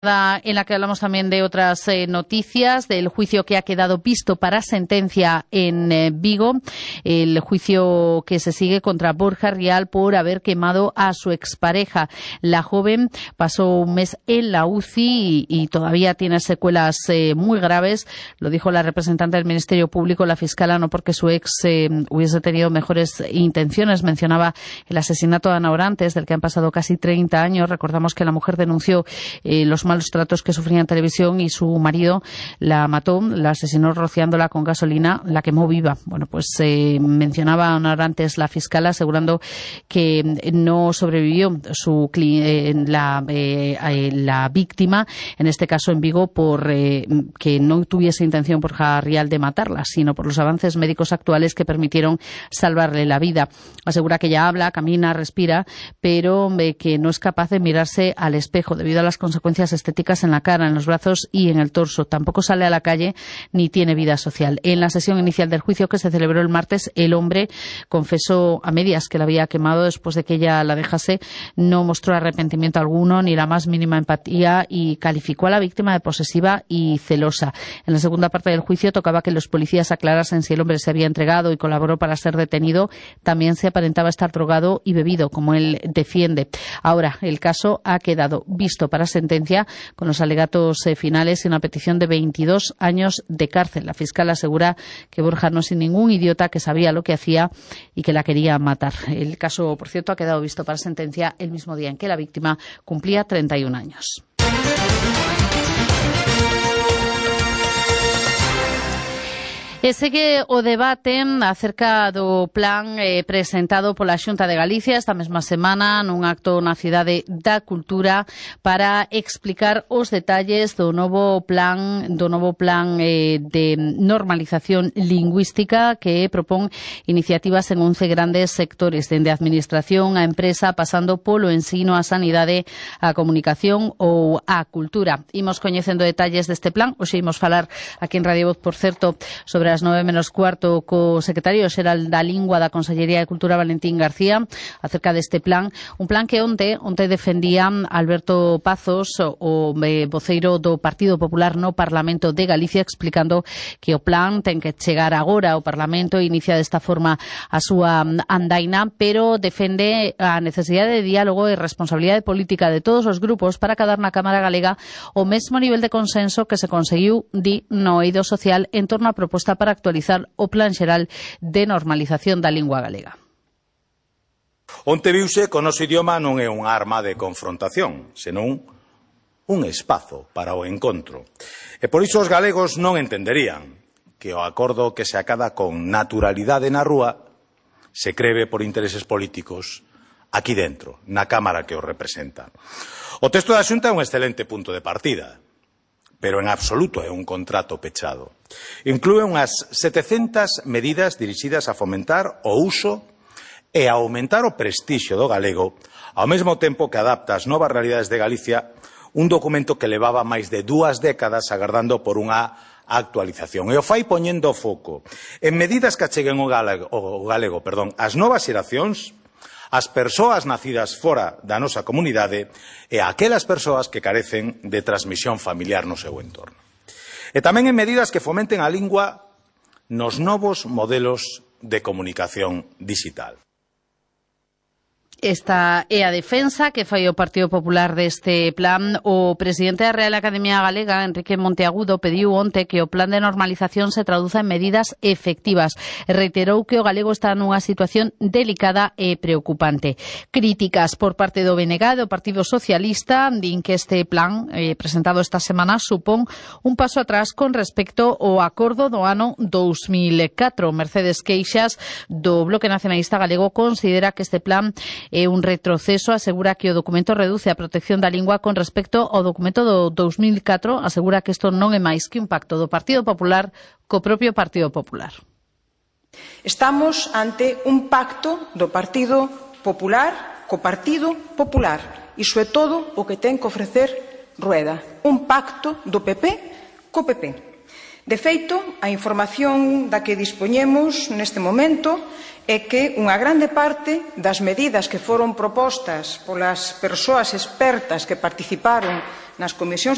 En la que hablamos también de otras noticias, del juicio que ha quedado visto para sentencia en Vigo, el juicio que se sigue contra Borja Rial por haber quemado a su expareja. La joven pasó un mes en la UCI y todavía tiene secuelas muy graves. Lo dijo la representante del Ministerio Público, la fiscala, no porque su ex hubiese tenido mejores intenciones. Mencionaba el asesinato de Ana Orantes, del que han pasado casi 30 años. Recordamos que la mujer denunció los malos tratos que sufría en televisión y su marido la mató, la asesinó rociándola con gasolina, la quemó viva. Bueno, pues mencionaba Ana Orantes, la fiscal, asegurando que no sobrevivió la víctima, en este caso en Vigo, por que no tuviese intención Borja Rial de matarla, sino por los avances médicos actuales que permitieron salvarle la vida. Asegura que ella habla, camina, respira, pero que no es capaz de mirarse al espejo debido a las consecuencias estéticas en la cara, en los brazos y en el torso. Tampoco sale a la calle ni tiene vida social. En la sesión inicial del juicio, que se celebró el martes, el hombre confesó a medias que la había quemado después de que ella la dejase. No mostró arrepentimiento alguno ni la más mínima empatía y calificó a la víctima de posesiva y celosa. En la segunda parte del juicio tocaba que los policías aclarasen si el hombre se había entregado y colaboró para ser detenido. También se aparentaba estar drogado y bebido, como él defiende. Ahora, el caso ha quedado visto para sentencia, con los alegatos finales y una petición de 22 años de cárcel. La fiscal asegura que Borja no es ningún idiota, que sabía lo que hacía y que la quería matar. El caso, por cierto, ha quedado visto para sentencia el mismo día en que la víctima cumplía 31 años. Segue o debate acerca do plan presentado pola Xunta de Galicia esta mesma semana nun acto na Cidade da Cultura para explicar os detalles do novo plan de normalización lingüística que propón iniciativas en 11 grandes sectores, dende a administración, a empresa, pasando polo ensino, a sanidade, a comunicación ou a cultura. Imos coñecendo detalles deste plan. Hoxe imos falar aquí en Radio Voz, por certo, sobre as 9:15 co secretario xeral da Lingua da Consellería de Cultura, Valentín García, acerca deste plan, un plan que onte defendía Alberto Pazos, o voceiro do Partido Popular no Parlamento de Galicia, explicando que o plan ten que chegar agora ao Parlamento e inicia desta forma a súa andaina, pero defende a necesidade de diálogo e responsabilidade política de todos os grupos para acadar na Cámara Galega o mesmo nivel de consenso que se conseguiu, no eido social, en torno á proposta para actualizar o Plan Xeral de Normalización da Lingua Galega. Onte viuse que o noso idioma non é unha arma de confrontación, senón un espazo para o encontro. E por iso os galegos non entenderían que o acordo que se acada con naturalidade na rúa se creve por intereses políticos aquí dentro, na Cámara que o representa. O texto da Xunta é un excelente punto de partida, pero en absoluto é un contrato pechado. Inclúe unhas 700 medidas dirixidas a fomentar o uso e a aumentar o prestixio do galego, ao mesmo tempo que adapta as novas realidades de Galicia, un documento que levaba máis de 2 décadas agardando por unha actualización. E o fai poñendo foco en medidas que acheguen o galego ás novas xeracións, as persoas nacidas fora da nosa comunidade e a aquelas persoas que carecen de transmisión familiar no seu entorno. E tamén en medidas que fomenten a lingua nos novos modelos de comunicación digital. Esta é a defensa que fai o Partido Popular deste plan. O presidente da Real Academia Galega, Enrique Monteagudo, pediu onte que o plan de normalización se traduza en medidas efectivas e reiterou que o galego está nunha situación delicada e preocupante. Críticas por parte do BNG, do Partido Socialista, din que este plan presentado esta semana supón un paso atrás con respecto ao acordo do ano 2004. Mercedes Queixas, do Bloque Nacionalista Galego, considera que este plan é un retroceso. Asegura que o documento reduce a protección da lingua con respecto ao documento do 2004. Asegura que isto non é máis que un pacto do Partido Popular co propio Partido Popular. Estamos ante un pacto do Partido Popular co Partido Popular. Iso é todo o que ten que ofrecer Rueda. Un pacto do PP co PP. De feito, a información da que dispoñemos neste momento é que unha grande parte das medidas que foron propostas polas persoas expertas que participaron nas comisións